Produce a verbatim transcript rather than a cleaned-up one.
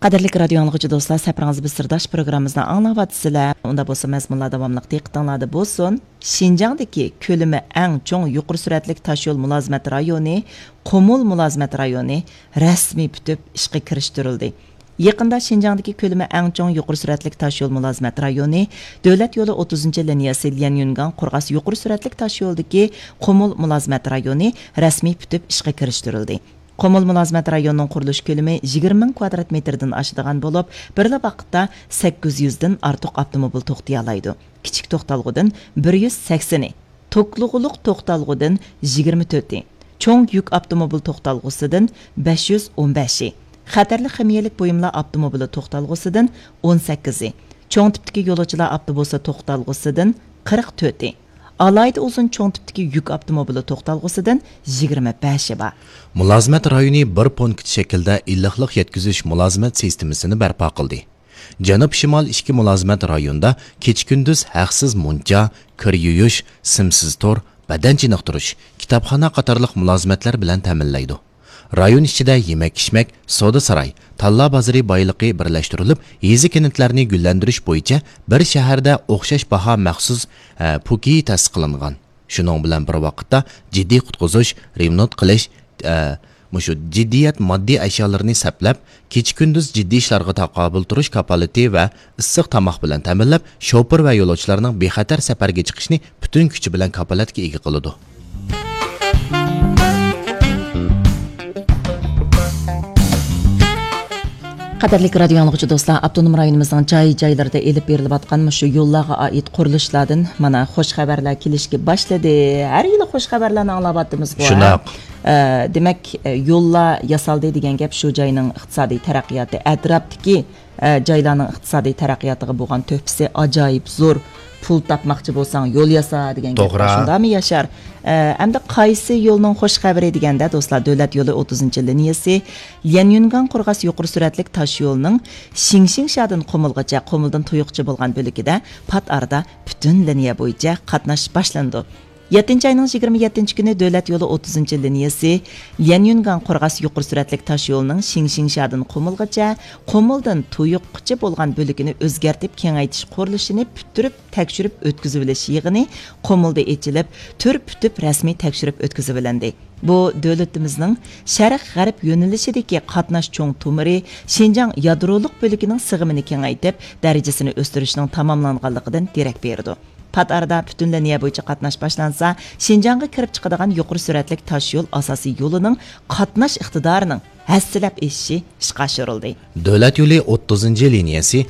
قەدىرلىك رادىيو ئاڭلىغۇچى دوستلار، سەپىرىڭىز بىز سىرداش پروگراممىمىزنى ئاڭلاۋاتىسىلەر. ئۇندا بولسا مەزمۇنلار داۋاملىق دىققىتىڭلاردا بولسۇن. شىنجاڭدىكى كۆلىمى ئەڭ چوڭ يۇقىرى سۈرئەتلىك تاشيول مۇلازىمەت رايونى، قۇمۇل مۇلازىمەت رايونى رەسمىي پۈتۈپ ئىشقا كىرىشتۈرۈلدى. يېقىندا شىنجاڭدىكى كۆلىمى ئەڭ چوڭ يۇقىرى سۈرئەتلىك تاشيول مۇلازىمەت رايونى، دۆلەت يولى ئوتتۇزىنچى لىنىيەسى ليەنيۈنگاڭ قورغاس يۇقىرى سۈرئەتلىك تاشيولىدىكى قۇمۇل مۇلازىمەت رايونى رەسمىي پۈتۈپ ئىشقا كىرىشتۈرۈلدى. قۇمۇل مۇلازىمەت رايونىنىڭ قۇرۇلۇش كۆلىمى يىگىرمە مىڭ كۋادرات مېتىردىن ئاشىدىغان بولۇپ، بىرلا ۋاقىتتا سەككىز يۈزدىن ئارتۇق ئاپتوموبىل توختىيالايدۇ. كىچىك توختالغۇدىن بىر يۈز سەكسىنى، توكلىغۇلۇق توختالغۇدىن يىگىرمە تۆتى، چوڭ يۈك ئاپتوموبىل توختالغۇسىدىن بەش يۈز ئون بەشى، خەتەرلىك خىمىيەلىك بۇيۇملار ئاپتوموبىلى توختالغۇسىدىن ئون سەككىزى، چوڭ تىپتىكى يولۇچىلار ئاپتوبۇسى توختالغۇسىدىن قىرىق تۆتى، ئالاھىدە ئۇزۇن چوڭ تىپتىكى يۈك ئاپتوموبىلى توختالغۇسىدىن يىگىرمە بەشى بار. مۇلازىمەت رايونى بىر پونكىت شەكلىدە ئىللىقلىق يەتكۈزۈش مۇلازىمەت سىستېمىسىنى بەرپا قىلدى. جەنۇب شىمال ئىككى مۇلازىمەت رايونىدا كېچە-كۈندۈز ھەقسىز مۇنچا، كىر يۇيۇش، سىمسىز تور، بەدەن چېنىقتۇرۇش، كىتابخانا قاتارلىق مۇلازىمەتلەر بىلەن تەمىنلەيدۇ. رايون ئىچىدە يېمەك-ئىچمەك، سودا-ساراي، تاللا بازىرى بايلىقى بىرلەشتۈرۈلۈپ، يېزا-كەنتلەرنى گۈللەندۈرۈش بويىچە بىر شەھەردە ئوخشاش باھا مەخسۇس، ئە، پۇكى تەسىس قىلىنغان. شۇنىڭ بىلەن بىر ۋاقىتتا، جىددىي قۇتقۇزۇش، رېمونت قىلىش، ئە، مۇشۇ جىددىيەت ماددىي ئەشيالىرىنى سەپلەپ، كېچە-كۈندۈز جىددىي ئىشلارغا تاقابىل تۇرۇش كاپالىتى ۋە ئىسسىق تاماق بىلەن تەمىنلەپ، شوپۇر ۋە يولۇچىلارنىڭ بىخەتەر سەپەرگە چىقىشىنى پۈتۈن كۈچى بىلەن كاپالەتكە ئىگە قىلىدۇ. قەدىرلىك رادىيو ئاڭلىغۇچى دوستلار، ئاپتونوم رايونىمىزنىڭ جاي-جايلىرىدا ئېلىپ بېرىلىۋاتقان مۇشۇ يوللارغا ئائىت قۇرۇلۇشلاردىن مانا خوش خەۋەرلەر كېلىشكە باشلىدى. ھەر يىلى خوش خەۋەرلەرنى ئاڭلاۋاتىمىزغۇ، ھە؟ شۇنداق. ئە، دېمەك، ئە، يوللار ياسالدى دېگەن گەپ شۇ جاينىڭ ئىقتىسادىي تەرەققىياتى، ئەتراپتىكى، ئە، جايلارنىڭ ئىقتىسادىي تەرەققىياتىغا بولغان تۆھپىسى ئاجايىپ زور. پۇل تاپماقچى بولساڭ، يول ياسا دېگەن گەپ بار، توغرا. شۇنداقمۇ، ياشار؟ ئە، ئەمدى قايسى يولنىڭ خوش خەۋىرى دېگەندە، دوستلار، دۆلەت يولى ئوتتۇزىنچى لىنىيەسى ليەنيۈنگاڭ قورغاس يۇقىرى سۈرئەتلىك تاش يولىنىڭ شىڭشىڭشادىن قۇمۇلغىچە، قۇمۇلدىن تۇيۇقچە بولغان بۆلىكىدە پات ئارىدا پۈتۈن لىنىيە بويىچە قاتناش باشلىنىدۇ. يەتتىنچى ئاينىڭ يىگىرمە يەتتىنچى كۈنى دۆلەت يولى ئوتتۇزىنچى لىنىيەسى ليەنيۈنگاڭ قورغاس يۇقىرى سۈرئەتلىك تاش يولىنىڭ شىڭشىڭشادىن قۇمۇلغىچە، قۇمۇلدىن تۇيۇققىچە بولغان بۆلىكىنى ئۆزگەرتىپ كېڭەيتىش قۇرۇلۇشىنى پۈتتۈرۈپ تەكشۈرۈپ ئۆتكۈزۈۋېلىش يىغىنى قۇمۇلدا ئېچىلىپ، تۈر پۈتۈپ رەسمىي تەكشۈرۈپ ئۆتكۈزۈۋېلىندى. بۇ دۆلىتىمىزنىڭ شەرق غەرب يۆنىلىشىدىكى قاتناش چوڭ تومۇرى شىنجاڭ يادرولۇق بۆلىكىنىڭ سىغىمىنى كېڭەيتىپ، دەرىجىسىنى ئۆستۈرۈشنىڭ تاماملانغانلىقىدىن دېرەك بېرىدۇ. پات ئارىدا پۈتۈن لىنىيە بويىچە قاتناش باشلانسا، شىنجاڭغا كىرىپ چىقىدىغان يۇقىرى سۈرئەتلىك تاش يول ئاساسىي يولىنىڭ قاتناش ئىقتىدارىنىڭ ھەسسىلەپ ئېشىشى ئىشقا ئاشۇرۇلدى. دۆلەت يولى ئوتتۇزىنچى لىنىيەسى